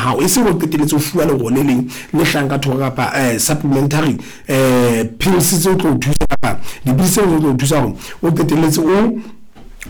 hao, e seng o qetelletse o fuwa lero le leng le hlahang ka thoko kapa supplementary pills tse o tlo o thusa kapa dipidisi tse tlo o thusa hore o qetelletse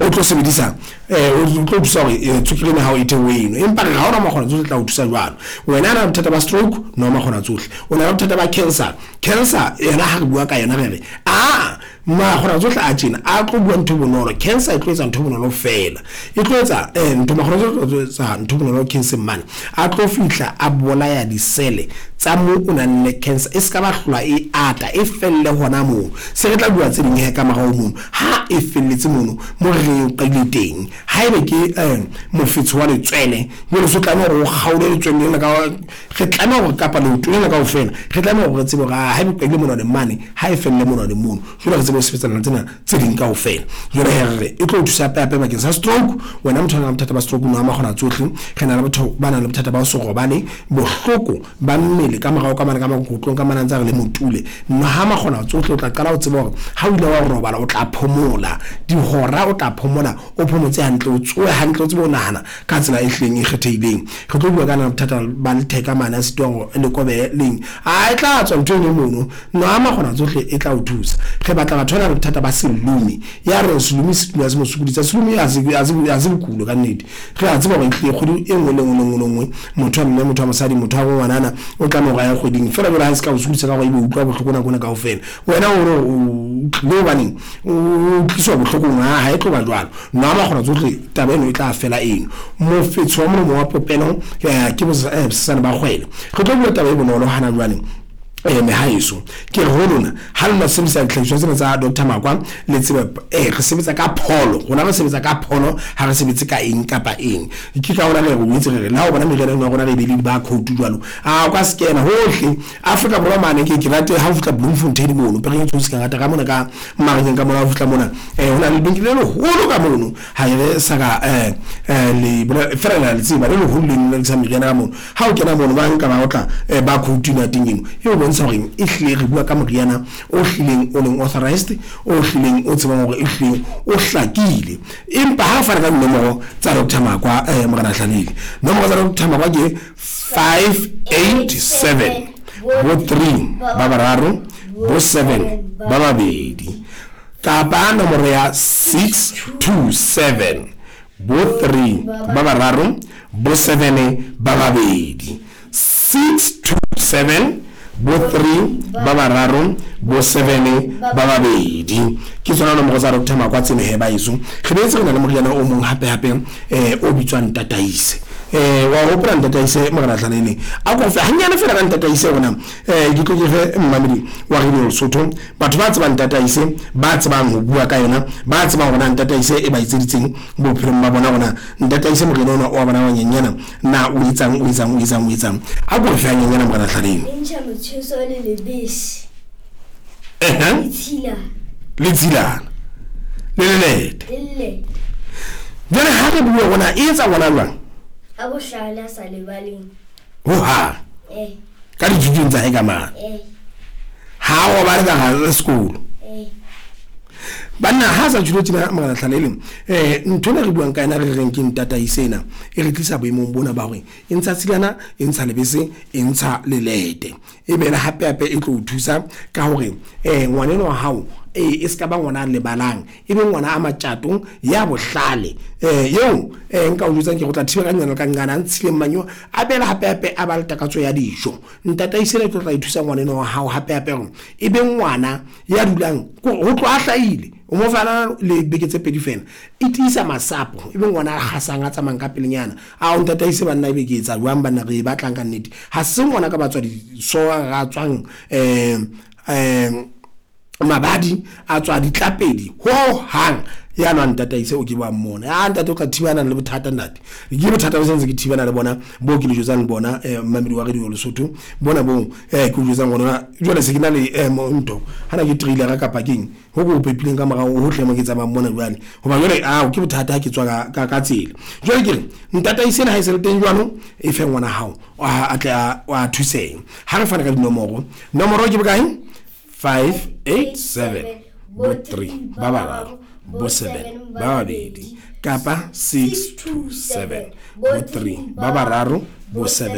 o tlo sebedisa o tlo thusa hore tswekere ena ya hao e theohe eno. Empa re ha ona makgona tsohle tla o thusa jwalo. Wena na le bothata ba stroke, nwa makgona tsohle. O na le bothata ba cancer, cancer yona ha re bua ka yona re re aa makgona tsohle a tjena a tlo bua ntho e bonolo. Cancer e tlo etsa ntho e bonolo feela, e tlo etsa ntho makgona tsohle tlo etsa ntho e bonolo cancer mane, a tlo fihla a bolaya disele tsa mo o nang le cancer, e ska ba hlola e ata, e felle hona moo. Se re tla bua tse ding he ka morao mono ha e felletse mono mo re reng e qadile teng. Haebe ke mofetshe wa letswele, jwale so tlameha hore o kgaole letswele lena ka, re tlameha hore kapa leoto lena kaofela, re tlameha hore re tsebe hore haebe qadile monwane mane, ha e felle monwane mono, jwale re tsebe ho sebetsana le tsena tse ding kaofela. Jwale he re re e tlo o thusa hape hape bakeng sa stroke. Wena motho a nang le bothata ba stroke, nwa makgona tsohle. Re na le batho ba nang le bothata ba ho se robale, bohloko ba mmele ka morao ka mane ka makokotlong ka mane a ntse a re le motule. Nwa ha makgona tsohle, o tla qala ho tseba hore ha o ile wa robala o tla phomola dihora, o tla phomola o phomotse hantle, o tsohe hantle, o tsebe ho nahana ka tsela e hlileng e kgethehileng. Re tlo bua ka na bothata ba letheka mane a sitwang hore le kobehe leng, a e tla tswa ntho eno mono. Nwa makgona tsohle e tla o thusa. Re batla batho ba nang le bothata ba selomi, ya reng selomi se dula se mo sokodisa. Selomi ha se bokulo ka nnete. Re a tseba hore ehlile kgwedi e nngwe le nngwe le nngwe le nngwe motho wa mme, motho wa mosadi, motho wa ngwanana o tlameha hore a ye kgweding. Feela jwale ha e se ka o sokodisa ka hore ebe o utlwa bohloko nako ena kaofela, wena o re o tlile hobaneng o tliswa bohlokong, ha e tlo ba jwalo. Nwa makgona tsohle, taba eno e tla fela eno. Mofetshe wa molomo wa popelo ke bosesane ba kgwele. Re tlo bua taba e bonolo hana jwale. Mehaeso, ke re ho lona, ha lona sebedisa dihlahiswa tsena tsa Doctor Makwa, le tsebe re sebetsa ka pholo. Rona re sebetsa ka pholo, ha re sebetse ka eng kapa eng. Ke ka hona re re boetse re re le ha o bona meriana eno ya rona re e beile di-barcode jwalo, a o ka scanner hohle Afrika Borwa mane. Ke rate ha o fihla Bloemfontein mono, Pereng e tshweu se ka ngata ka mona ka mmarakeng ka mona, ha o fihla mona ho na le lebenkele le leholo ka mono, ha e re sa ka le fela le a le tseba, le leholo leno le rekisang meriana ka mono. Ha o kena mono ba nka ba otla barcode ena teng eno, e o bontsha hore e hlile re bua ka moriana o hlileng o leng authorized, o hlileng o tsebang hore e hlileng o hlakile. Empa ha re fana ka dinomoro tsa Doctor Makwa Morena Hlalele, nomoro tsa Doctor Makwa ke 587 bo 3 ba bararo bo 7 ba babedi, kapa nomoro ya 627 bo 3 ba bararo bo 7 ba babedi. 627 bo 3 ba bararo bo 7 ba babedi, ke tsona nomoro tsa Doctor Makwa tseno he baeso. Re boetse re na le moriana o mong hape hape o bitswang Tataise. Wa hopola Ntataise Morena Hlalele? A ko fe hanyane fela ka Ntataise hore ke tlo ke fe mmamedi wa Radio Lesotho, batho ba tsebang Ntataise, ba tsebang ho bua ka yona, ba tsebang hore na Ntataise e ba etseditseng bophelong ba bona, hore na Ntataise moriana ona wa bona wa nyenyana na o etsang, o etsang, o etsang, o etsang. A ko fe hanyenyana Morena Hlalele. E ntšha motjheso le lebese. Le tshilana. Le lelete. Jwale ha re bua rona e etsa ngwana jwang? A bohlale a sa lebaleng. Ho ha. Ka dithutong tsa hae ka mane. Ha a robale ka hara sekolo. Banna ha sa tjholo tjena Morena Hlalele, ntho ena re buang ka yona re reng ke Ntataise ena, e re tlisa boemong bona ba hore e ntsha tshilana, e ntsha lebese, e ntsha lelete. E bele hape hape e tlo o thusa ka hore ngwaneno wa hao e se ka ba ngwana a lebalang, e be ngwana a matjato ya bohlale. Eo nka o jwetsang ke go tla thiba ka nqana ka nqana a ntshileng manyowa, a bele hape hape a ba le takatso ya dijo. Ntataise ena e tlo tla e thusa ngwaneno wa hao hape hape hore e be ngwana ya dulang ho tloha a hlahile, o mo fana le beke tse pedi fela, e tiisa masapo, e be ngwana a kgasang a tsamayang ka pelenyana. A o ntataise banna, ebe ke etsa jwang banna, re e batlang ka nnete. Ha se ngwana ka batswadi so ra tswang mabadi a tswa ditlapedi ho hang, ya nwa Ntataise o ke wa mmona. A ntate o tla thibana le bothata ntate, ke bothata bo sentse ke thibana le bona bo ke le jwetsang bona mmamedi wa Radio Lesotho bona bo ke o jwetsang hona jwale. Se ke na le ntho hana ke trailer kapa keng ho ko pepileng ka morao hohle mo ke tsamayang mona jwale, hoba jwale ao ke bothata ha ke tswa ka tsela. Jwale ke re Ntataise ena ha e se le teng jwalo, e fe ngwana hao a tle a thuseng. Ha re fana ka dinomoro, nomoro ke bokae? 587 bo 3 ba bararo bo 7 ba babedi, kapa 627 bo 3 ba bararo bo 7.